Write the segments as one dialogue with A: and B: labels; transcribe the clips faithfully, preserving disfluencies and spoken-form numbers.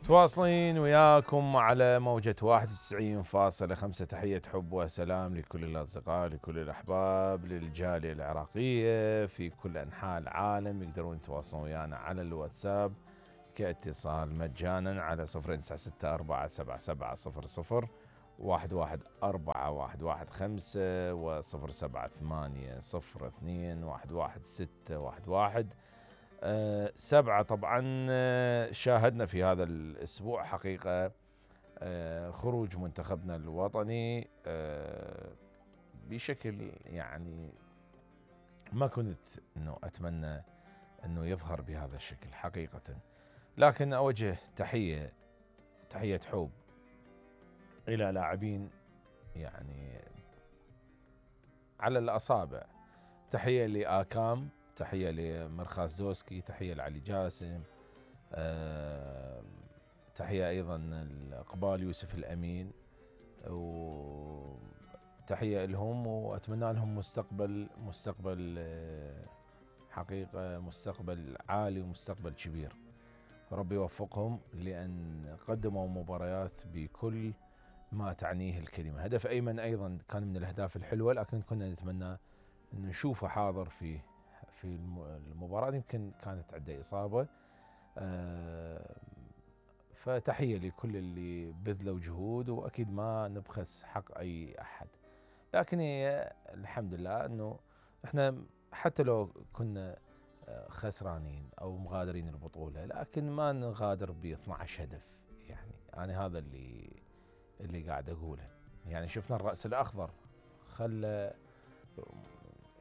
A: تواصلين وياكم على موجة واحد وتسعين فاصلة خمسة. تحية حب وسلام لكل الأصدقاء، لكل الأحباب، للجالية العراقية في كل أنحاء العالم. يقدرون يتواصلون ويانا على الواتساب كاتصال مجانا على صفر تسعة ستة أربعة سبعة سبعة صفر صفر واحد واحد أربعة واحد واحد خمسة وصفر سبعة ثمانية صفر اثنين واحد واحد ستة واحد واحد أه سبعة. طبعا أه شاهدنا في هذا الأسبوع حقيقة أه خروج منتخبنا الوطني أه بشكل يعني ما كنت أنه أتمنى أنه يظهر بهذا الشكل حقيقة، لكن أوجه تحية تحية حب إلى لاعبين يعني على الأصابع. تحية لآكام، تحية لمرخاز دوسكي، تحية لعلي جاسم، أه تحية أيضا لإقبال يوسف الأمين، وتحية لهم وأتمنى لهم مستقبل مستقبل حقيقة مستقبل عالي ومستقبل كبير. ربي يوفقهم لأن قدموا مباريات بكل ما تعنيه الكلمة. هدف أيمن أيضا كان من الأهداف الحلوة، لكن كنا نتمنى أن نشوفه حاضر في في المباراة، يمكن كانت عنده إصابة. أه فتحية لكل اللي بذلوا جهود، وأكيد ما نبخس حق أي أحد، لكن هي الحمد لله أنه إحنا حتى لو كنا خسرانين أو مغادرين البطولة، لكن ما نغادر ب اثنعش هدف. يعني أنا هذا اللي اللي قاعد أقوله. يعني شفنا الرأس الأخضر خلى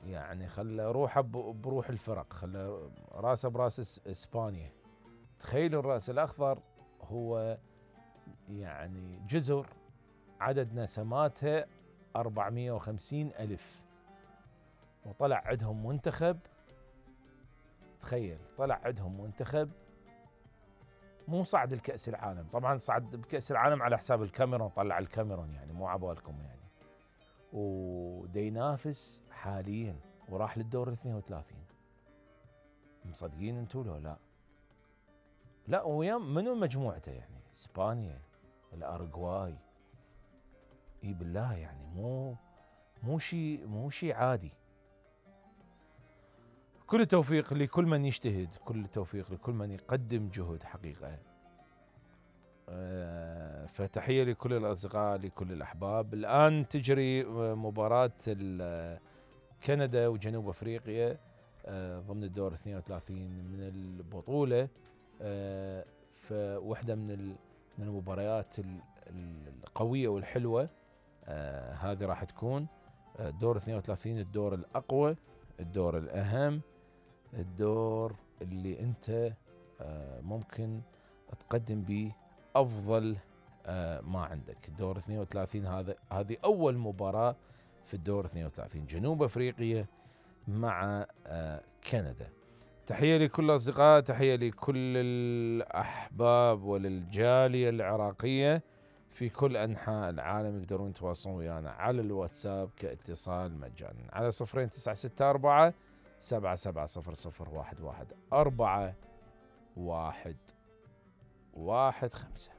A: يعني خلى روحه بروح الفرق، خلى راسه براس إسبانيا. تخيلوا الرأس الأخضر هو يعني جزر عدد نسماتها أربعمائة وخمسين ألف، وطلع عندهم منتخب. تخيل طلع عندهم منتخب مو صعد الكأس العالم، طبعا صعد بكأس العالم على حساب الكاميرون، طلع الكاميرون يعني مو عبالكم يعني، ودي ينافس حاليا وراح للدور الاثنين وثلاثين. مصدقين انتوا لو لا؟ لا ويام منو مجموعته يعني؟ اسبانيا، الارجواي، اي بالله يعني مو مو شيء مو شيء عادي. كل التوفيق لكل من يجتهد، كل التوفيق لكل من يقدم جهد حقيقة. أه فتحية لكل الأصدقاء، لكل الأحباب. الآن تجري مباراة كندا وجنوب أفريقيا أه ضمن الدور اثنين وثلاثين من البطولة. أه فوحدة من من المباريات القوية والحلوة. أه هذه راح تكون دور اثنين وثلاثين، الدور الأقوى، الدور الأهم، الدور اللي انت ممكن تقدم به افضل ما عندك. الدور اثنين وثلاثين هذا هذه اول مباراة في الدور اثنين وثلاثين، جنوب افريقيا مع كندا. تحية لكل الاصدقاء، تحية لكل الاحباب وللجالية العراقية في كل انحاء العالم. يقدرون يتواصلون ويانا على الواتساب كاتصال مجانا على صفرين تسعة ستة أربعة سبعة سبعة صفر صفر واحد واحد أربعة واحد واحد خمسة.